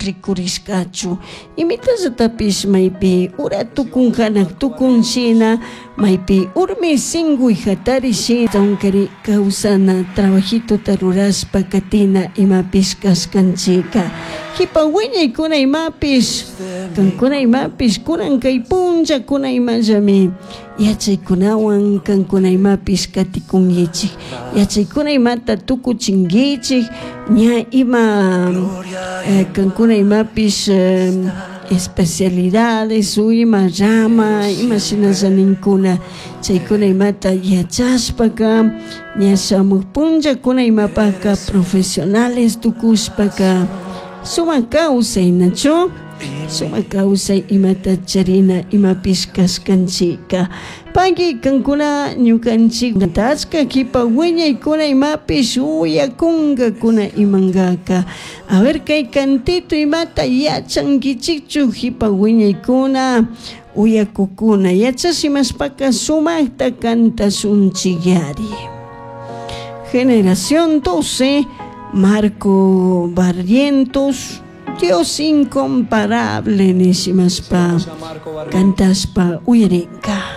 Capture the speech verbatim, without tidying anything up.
Rikurishkachu imitallatapish maypi ura tukun hanak tukun shina maypi urmi singuy hatari shina unkari kawsana trabajituta rurashpa katina imapish kashkanchika kipa wiñaykuna imapish kankuna imapish kunan kay punllakuna imallami yachaykunawan kankuna imapish katikunkichik yachaykuna imata tukuchinkichik ña ima eh, kankuna imapish eh, especialidades o ima rama ima shinalla ninkuna chaykuna imata yachashpaka ña shamuj punllakuna imapaka profesionales tukushpaka sumak kawsay nachu sumak kawsay imata charina imapish kashkanchika paki kankuna ñukanchik achka kipa wiñaykuna imapish uyakunkakuna imankaka a ver kay cantito imata yachankichikchu kipa wiñaykuna uyakukuna yachashimashpaka sumakta kantashunchikyari. Generación doce, Marco Barrientos, Dios incomparable nishimashpa Marco Barrientos. kantashpa uyarinka.